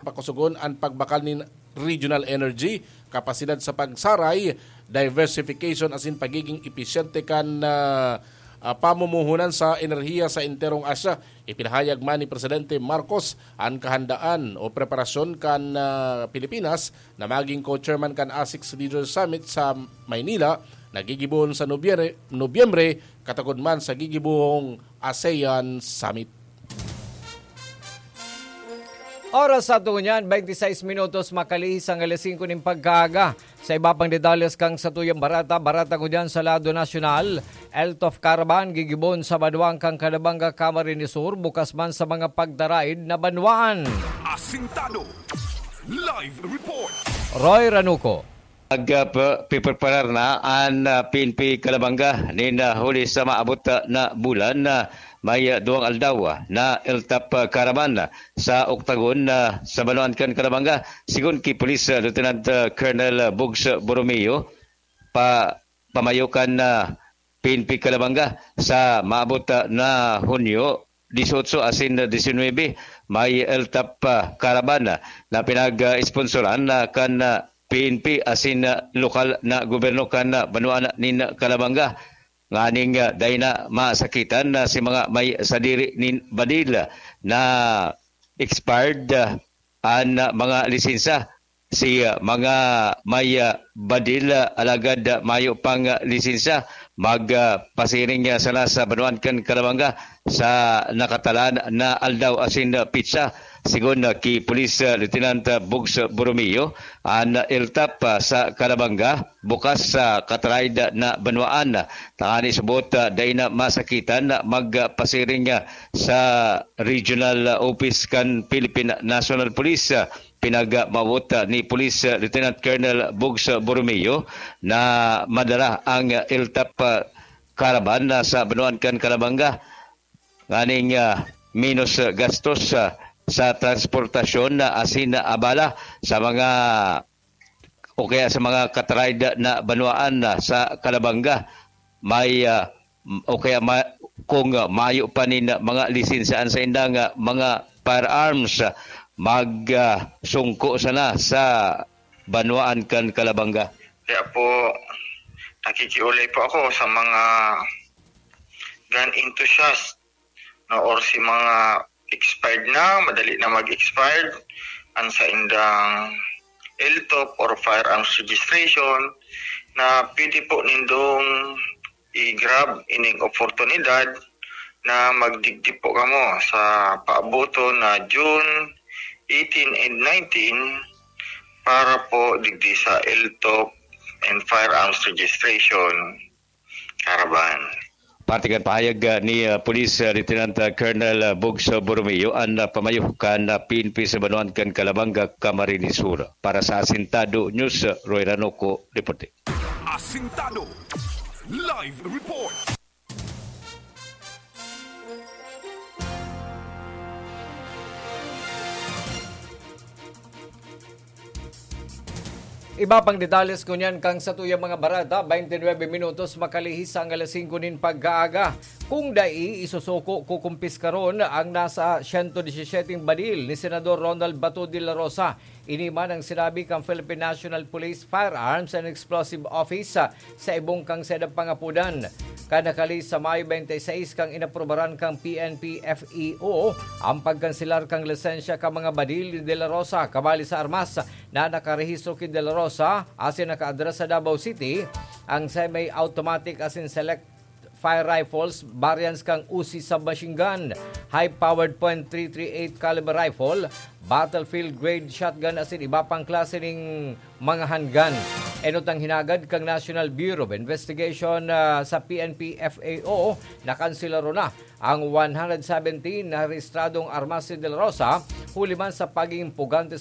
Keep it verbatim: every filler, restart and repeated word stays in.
pakusugon an pagbakal nin regional energy, kapasidad sa pagsaray, diversification asin pagiging episyente kan, ah, ah, pamumuhunan sa enerhiya sa enterong Asya. Ipinahayag man ni Presidente Marcos an kahandaan o preparasyon kan, ah, Pilipinas na maging co-chairman kan ASEC Leaders Summit sa Maynila na gigibohon sa Nobyere-, Nobyembre, katagod man sa gigibohong ASEAN Summit. Oras sa ato ngunyan, twenty-six minutos makalihis ang alas singko nin pagkaaga. Sa iba pang detalles kan satuyang barata, barata ngunyan sa lado nasyonal, ELTOF Caravan gigibohon sa banwaan kan Calabanga, Camarines Sur, bukas man sa mga pagtaraid na banwaan. Asintado. Live report. Roy Ranuco. Nag, ah, pa-, pipreparar na an, ah, P N P Calabanga nin, ah, huli sa maabot, ah, na bulan, ah, may, ah, duwang aldaw, ah, na ELTOF, ah, Caravan, ah, sa Octagon, ah, sa banwaan kan Calabanga. Sigon ki Police, ah, Lieutenant, ah, Colonel, ah, Bugs, ah, Borromeo, pa-, pamayo kan, ah, P N P Calabanga sa maabot, ah, na Hunyo dieciocho asin diecinuebe, may ELTOF, ah, Caravan, ah, na pinag-sponsoran, ah, kan, ah, P N P asin, ah, lokal na gobyerno kan, ah, banwaan nin Calabanga. Nganing, ah, dai na masakitan na si mga may sadiri nin badil, ah, na expired, ah, an, ah, mga lisensa. Si, ah, mga may, ah, badil, ah, alagad, ah, mayo pang, ah, lisensa, mag, ah, pasiring, ah, sana sa banwaan kan Calabanga sa nakatalaan na aldaw asin, ah, pitsa. Sigon, ah, ki Police, ah, Lieutenant, ah, Bugs Borromeo, an, ah, ELTOF, ah, sa Calabanga bukas sa kataraid na banwaan. Tangani subot, ah, dai na masakitan, ah, magpasiring, ah, sa regional, ah, office kan Philippine National Police. Ah, pinagmawot, ah, ni Police, ah, Lieutenant Colonel Bugs, ah, Borromeo na madara ang, ah, ELTOF, ah, Caravan, ah, sa banwaan kan Calabanga. Nganing, ah, menos, ah, gastos, ah, sa transportasyon na asin na abala sa mga o kaya sa mga kataraid na banwaan na sa Calabanga, may, ah, o kaya ma-, kung, ah, mayo pa nin, ah, mga lisensa an saindang, ah, mga firearms, ah, mag, ah, sungko sana sa banwaan kan Calabanga. Kaya po, nakikiulay po ako sa mga gun enthusiast, no, or si mga expired na, madali na mag-expired, ang saindang ELTOF or firearms registration, na pwede po nindong i-grab ining oportunidad na magdigdi po kamo sa paaboton na June eighteen and nineteen para po digdi sa ELTOF and firearms registration caravan. Parte kan pahayag, ah, ni, ah, Police, ah, Lieutenant, ah, Colonel, ah, Bugs, ah, Borromeo, an, ah, pamayo kan, ah, P N P sa banwaan kan Calabanga, Camarines Sur. Para sa Asintado News, ah, Roy Ranoco, reporte. Asintado. Live report. Iba pang detalles ngunyan kan satuyang mga barata, twenty-nine minutos makalihis sa alas singko nin pagkaaga. Kung dai, isusuko, kukumpiskaron ang nasa siyento disisiyete badil ni Senador Ronald Bato de la Rosa. Ini man ang sinabi kan Philippine National Police Firearms and Explosive Office, ah, sa ibong kan saindang pangapodan. Kan nakalihis sa Mayo twenty-six kan inaprubaran kan P N P F E O ang pagkanselar kan lisensya kan mga badil ni De La Rosa kabali sa armas na nakarehistro ki De La Rosa asin nakaadres sa Davao City, ang semi-automatic asin select fire rifles, variants kan Uzi submachine gun, high-powered point three three eight caliber rifle, battlefield grade shotgun asin iba pang klase ning mga handgun. Enot ang hinagad kan National Bureau of Investigation, ah, sa P N P F A O, nakanselaro na ang one hundred seventeen na rehistradong armas ni De La Rosa, huli man sa pagiging pugante